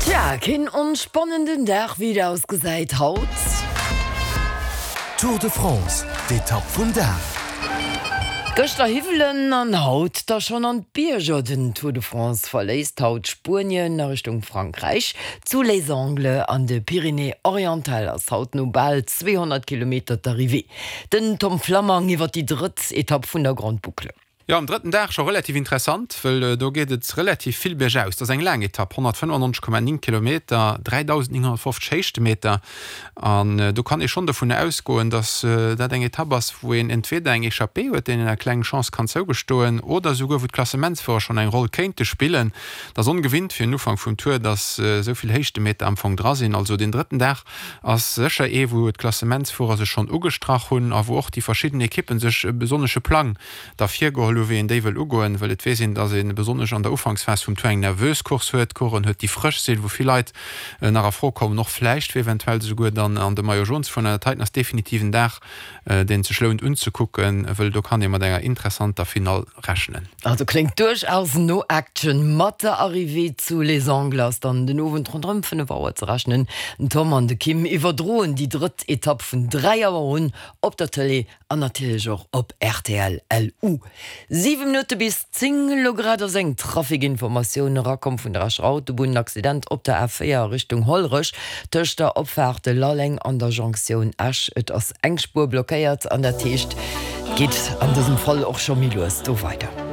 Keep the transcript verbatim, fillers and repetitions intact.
Tja, keen onspannenden Dag, wéi et ausgesäit haut. Tour de France, d'Etapp vum Dag. Gëschter Hiwwelen an haut da schonn an d'Bierger. Den Tour de France verléisst haut Spuenien a Richtung Frankräich. Zu Les Angles an de Pyrénées-Orientales ass haut no bal zweehonnert Kilometer d'Arrivée. Den Tom Flammang iwwer déi drëtt Etapp vun der Grande Boucle. Jo, am drëtten Dag scho relativ interessant, wëll do geet et relativ vill biergaus. Dat ass eng laang Etapp, honnertfënnefannonzeg Komma néng Kilometer, dräidausendnénghonnertfofzeg Héichtemeter. An do kann ee schonn dovun ausgoen, datt dat eng Etapp ass, wou een entweder eng Echappée huet, deenen eng kleng Chance kann zougestoen, oder esouguer wou d'Klassementsfuerer schonn eng Roll kéinte spillen. Dat ass ongewinnt fir en Ufank vum Tour, datt esou vill Héichtemeter am Fong dra sinn. Also deen drëtten Dag ass sécher ee, wou d'Klassementsfuerer sech schonn ugestrach hunn a wou och déi verschidden Ekippen sech e besonnesche Plang da virgeholl hu wéi een déi wëll ugoen, wëll et weess een, datt ee besonnesch an der Ufanksphas vum Tour eng nervös Course huet, Coursen huet, déi frësch sinn, wou vill Leit nach a Fro kommen, och vläicht fir eventuell esouguer dann an de Maillot jaune ze fueren. An dat heiten ass definitiv en Dag, deen et sech lount unzekucken, wëll do kann ee mat enger interessanter Finall rechnen. Also kléngt duerchaus no Action. Mat der Arrivée zu Les Angles ass dann den Owend ronderëm fënnef Auer ze rechnen. Den Tom an de Kim iwwerdroen déi drëtt Etapp vun dräi Auer un op der Tëlee an natierlech och op rtl L U. Siwe Minutte bis zéng, Elo grad ass eng Trafikinformatioun erakomm vun der Escher Autobunn. En Accident op der A véier a Richtung Hollerech tëscht der Opfaart Lalleng an der Jonktioun Esch. Et ass eng Spuer blockéiert an dat heescht, et geet an dësem Fall och scho méi lues do weider.